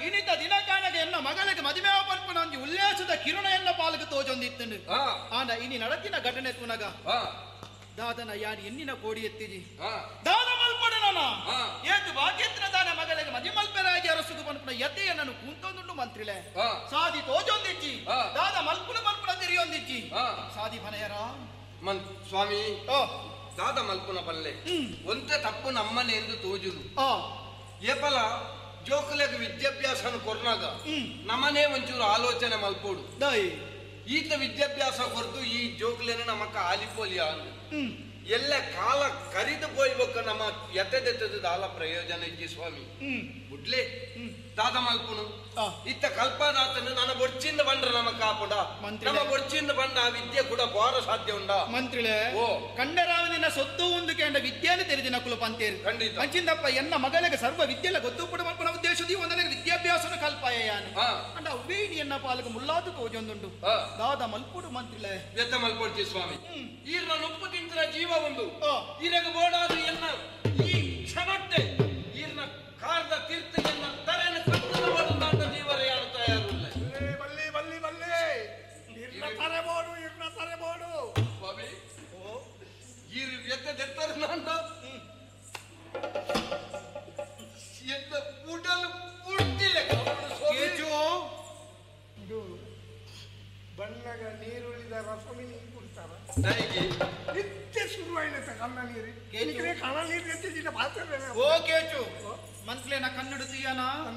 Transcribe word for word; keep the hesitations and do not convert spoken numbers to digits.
ಇನಿತ ದಿನಕಾನಗ ಎನ್ನ ಮಗಳಿಗೆ ಮದಿಮೆ ಪನ್ಪುನ ಉಲ್ಲೇಸದ ಕಿರಣ ಎನ್ನ ಪಾಲಕ ತೋಜೊಂದಿತ್ತಂಡು. ಆಂಡ ಇನಿ ನಡತಿನ ಘಟನೆ ತುನಗ ದಾದನ ಯಾರು ಎನ್ನಿನ ಕೋಡಿ ಎತ್ತಿಜಿ ದಾದ ಮಲ್ಪಡೆ ನಾನ ಏತು ಭಾಗ್ಯತ್ರ ದಾನ ಮಗಳಿಗೆ ಮದಿ ಮಲ್ಪೆರಾಗಿ ಅರಸುದು ಪನ್ಪುನ ಯತೆಯ ನಾನು ಕೂಂತೊಂದುಂಡು ಮಂತ್ರಿಲೆ ಸಾದಿ ತೋಜೊಂದಿಜ್ಜಿ ದಾದ ಮಲ್ಪುನ ಮಲ್ಪುನ ತಿರಿಯೊಂದಿಜ್ಜಿ ಸಾದಿ ಮನೆಯರ ಮನ್ ಸ್ವಾಮಿ ದಾದ ಮಲ್ಪುನ ಪಲ್ಲೆ ಒಂತೆ ತಪ್ಪು ನಮ್ಮನೆ ಎಂದು ತೋಜುದು. ಏಪಲ ಜೋಕುಲೆಗ್ ವಿದ್ಯಾಭ್ಯಾಸನ ಕೊರ್ನಾಗ ನಮ್ಮನೆ ಒಂಚೂರು ಆಲೋಚನೆ ಮಲ್ಪೋಡು. ಈತ ವಿದ್ಯಾಭ್ಯಾಸ ಕೊರ್ದು ಈ ಜೋಕುಲೇನ ನಮಕ್ಕ ಆಲಿಪೋಲಿಯ ಎಲ್ಲ ಕಾಲ ಕರಿದು ಪೋಯ್ಬೇಕ ನಮ್ಮ ಎತ್ತೆದೆತ್ತದ ದಾಲ ಪ್ರಯೋಜನ ಇಜ್ಜಿ ಸ್ವಾಮಿ. ಬುಡ್ಲೆ ದಾದ ಮಲ್ಪುನು ಇತ್ತ ಕಲ್ಪದಾತನು ನನ್ನ ಬೊಡ್ಚಿಂದ ಬಂಡ್ರ ನಮ್ಮ ಕಾಪುಡ ನಮ್ಮ ಬೊಡ್ಚಿಂದ ಬಂಡ ಆ ವಿದ್ಯೆ ಕೂಡ ಬೋರ ಸಾಧ್ಯ ಉಂಡ ಮಂತ್ರಿಲೆ. ಓ ಕಂಡರಾವನಿನ ಸೊತ್ತು ಒಂದು ಕೇಂದ್ರ ವಿದ್ಯೆಯನ್ನು ತೆರೆದಿನ ಕುಲ ಪಂತೇರು ಖಂಡಿತ ಅಂಚಿಂದಪ್ಪ ಎನ್ನ ಮಗಳಿಗೆ ಸರ್ವ ವಿದ್ಯೆಲ್ಲ ಗೊತ್ತು ಪಡ ಮಲ್ಪನ ಉದ್ದೇಶದಿ ಒಂದನೇ ವಿದ್ಯಾಭ್ಯಾಸನ ಕಲ್ಪಾಯ ಅಂಡ ಅವ್ವೇಣಿ ಎನ್ನ ಪಾಲಕ ಮುಲ್ಲಾದು ತೋಜೊಂದುಂಡು ದಾದ ಮಲ್ಪುಡು ಮಂತ್ರಿಲೆ. ವ್ಯಥ ಮಲ್ಪೊಡ್ಚಿ ಸ್ವಾಮಿ. ಈರ್ನ ನುಪ್ಪು ತಿಂತ್ರ ಜೀವ ಒಂದು ಈರಗ ಬೋಡಾದು ಎನ್ನ ಈ ಕ್ಷಣಟ್ಟೆ ಈರ್ನ ಕಾರ್ದ ತೀರ್ಥ ಎನ್ನ ತರೆನ ಕತ್ತದ ಬೋಡು ಜೀವರ ಯಾರು ತಯಾರುಲ್ಲ. ಬಲ್ಲಿ ಬಲ್ಲಿ ಬಲ್ಲಿ ಇರ್ನ ತರೆ ಬೋಡು ಇರ್ನ ತರೆ ಬೋಡು ಸ್ವಾಮಿ. ಈರು ವ್ಯಥ ದೆತ್ತರ ನಾನು ಎನ್ನ ಉಡಲು ಪುಟ್ಟಿಲ್ಲ ಇದು ಬಣ್ಣಗ ನೀರುಳಿದ ರಸಮಿ ನೀರು ಕುಡ್ತಾರ ನಿತ್ಯ ಶುರುವಾಯಿನ ಕಣ್ಣ ನೀರು ಕಣ್ಣ ನೀರು ಎತ್ತಿದ್ದ ಪಾತ್ರ. ಓ ಕೇಚು ಮಂತ್ಲೇನ ಕನ್ನಡ ತೀಯನ.